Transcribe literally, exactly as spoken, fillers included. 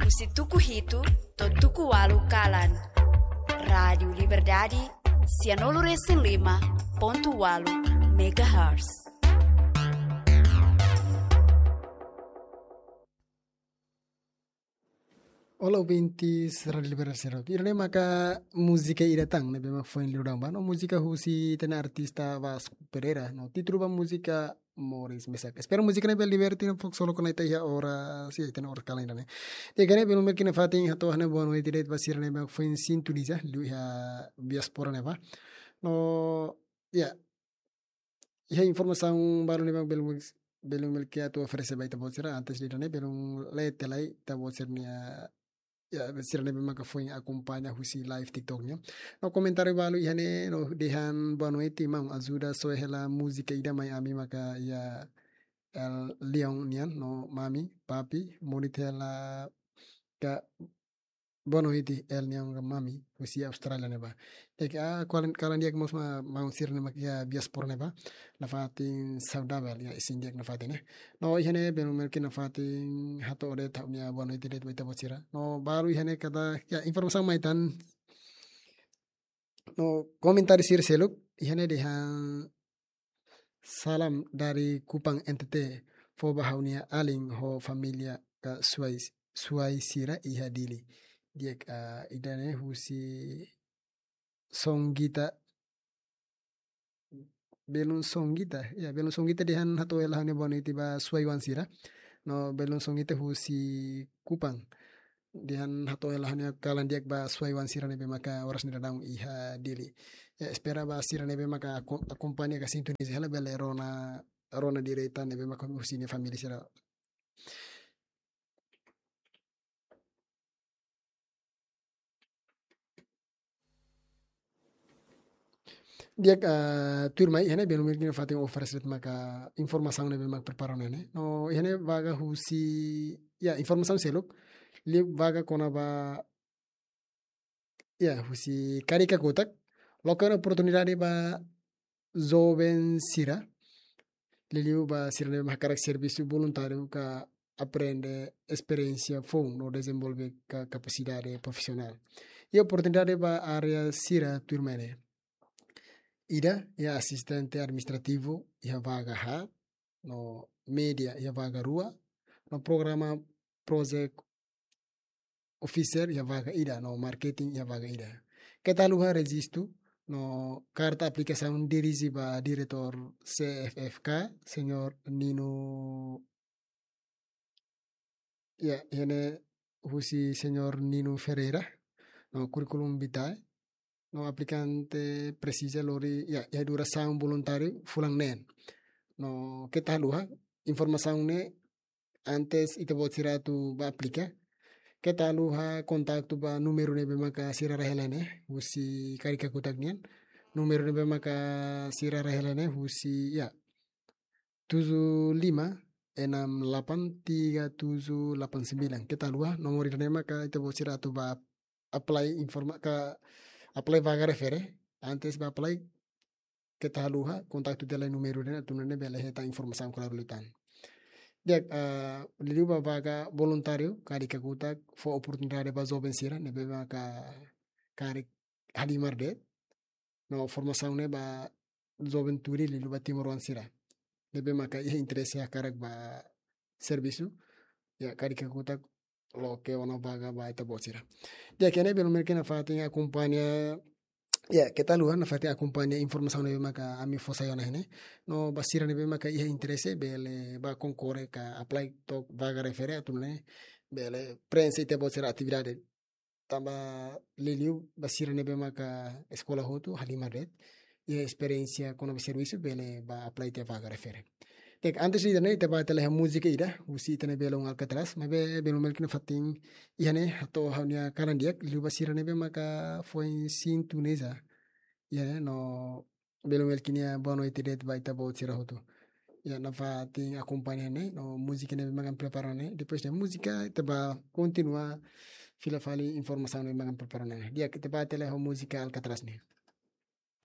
Husi tuku hitu to'o tuku ualu kalan. Rádiu Liberdade, sianulu resin lima pontu ualu megahertz. Olá, ouvintes Rádiu Liberdade sira. Ida-ne'e maka múzika ida tan ne'ebé mak foin liu daudaun ba. No múzika husi ita-nia artista Vasco Pereira. No títulu ba múzika Moris Mesak. Espera múzika ne'e bele diverte no fok solo kona ita iha oras, iha ita-nia oras kalan ida-ne'e. Di'ak, iha ne'e belun belun iha ne'e fatin hato'o ha'u-nia boa noite de'it ba sira ne'ebé mak foin sintoniza liu iha diáspora ne'ebá. No, ya, iha informasaun balu ne'ebé belun, belun belun atu oferese ba ita-boot sira, antes de ida-ne'e belun lee tiha lai ita-boot sira-nia, ya, sira ne'ebé maka foin akompaña husi live TikTok nian. No komentáriu balu iha ne'e, no dehan boa noite, maun, ajuda soe hela múzika ida mai ami maka iha El Leon nian, no mami, papi, bonita hela ka boa noite, El Leon ka mami, husi Austrália ne'ebá. Di'ak, ah, kalan, kalan di'ak mós ba maun sira ne'ebé mak iha diáspora ne'ebá. Nafatin saudavel, ya, isin di'ak nafatin, eh. No iha ne'e belun belun iha ne'e fatin hato'o de'it ha'u-nia boa noite de'it ba ita-boot sira. No balu iha ne'e katak, ya, informasaun mai tan. No komentáriu sira seluk, iha ne'e dehan salam dari Kupang N T T, fó ba ha'u-nia alin ho família ka suai, suai sira iha Dili. Di'ak, ah, ida-ne'e husi Songgita, belun Songgita, ya, belun Songgita dehan hato'o hela ha'u-nia boa noite ba suai-oan sira. No belun Songgita husi Kupang. Dehan hato'o hela ha'u-nia kalan di'ak ba suai-oan sira ne'ebé maka oras ne'e daudaun iha Dili. Ya, espera ba sira ne'ebé maka ako-, akompaña ka sintoniza hela bele rona, rona direta ne'ebé maka husi nia família sira. Di'ak, ah, tuirmai, iha ne'e belun belun iha ne'e fatin oferese de'it maka informasaun ne'ebé mak prepara ona ne'e. No, iha ne'e vaga husi, ya, informasaun seluk, liu vaga kona-ba, ya, husi Karika Kutak, loke ona oportunidade ba joven sira, liuliu ba sira ne'ebé mak hakarak servisu voluntáriu ka aprende esperiénsia foun no dezenvolve ka-, kapasidade profisionál. I oportunidade ba área sira tuirmai ne'e. Ida, iha asistente administrativu, iha vaga haat, no média, iha vaga rua, no programa project officer, iha vaga ida, no marketing, iha vaga ida. Keta haluha rejistu, no karta aplikasaun dirije ba diretór C F F K, señór Nino, ya, iha ne'e husi señór Nino Ferreira, no curriculum vitae, no aplikante presiza lori, ya, iha durasaun voluntáriu fulan neen. No keta haluha, informasaun ne'e antes ita-boot sira atu ba aplika, keta haluha kontaktu ba númeru ne'ebé maka sira haree hela ne'e, husi Karika Kutak nian. Númeru ne'ebé maka sira haree hela ne'e, husi, ya, tujuh lima enam delapan tiga tujuh delapan sembilan. Keta haluha, nomor ida-ne'e maka ita-boot sira atu ba apply informa-, ka apply vaga refere. Antes ba apply, keta haluha, kontaktu tiha lai númeru ida-ne'e, atu nune'e bele hetan informasaun klaru liután. Di'ak, ah, liuliu ba vaga voluntáriu, Karika Kutak fó oportunidade ba joven sira ne'ebé maka karik halimar de'it. No formasaun ne'e ba juventude liuliu ba timoroan sira ne'ebé maka iha interese hakarak ba servisu, ya, Karika Kutak loke ona vaga ba ita-boot sira. Di'ak, iha ne'e belun belun iha ne'e fatin akompaña, ya, keta haluha nafatin akompaña informasaun ne'ebé maka ami fó sai ona iha ne'e. No ba sira ne'ebé maka iha interese bele ba konkorre ka apply to'o vaga refere atu nune'e bele prenxe ita-boot sira atividade. Tanba liuliu ba sira ne'ebé maka eskola hotu halimar de'it, iha esperiénsia kona-ba servisu bele ba apply tiha vaga refere. Di'ak, antes ida-ne'e ita ba tele múzika ida husi ita-nia belun Alcatraz, maibé belun belun iha ne'e fatin iha ne'e hato'o ha'u-nia kalan di'ak liu ba sira ne'ebé maka foin sintoniza iha ne'e, no belun belun iha ne'e boa noite de'it ba ita-boot sira hotu. Ya, nafatin akompaña ne'e, no múzika ne'ebé maka ami prepara ne'e. Depois de múzika, ita ba kontinua fila fali informasaun ne'ebé maka ami prepara ne'e. Di'ak, ita ba tele ho múzika Alcatraz ne'e.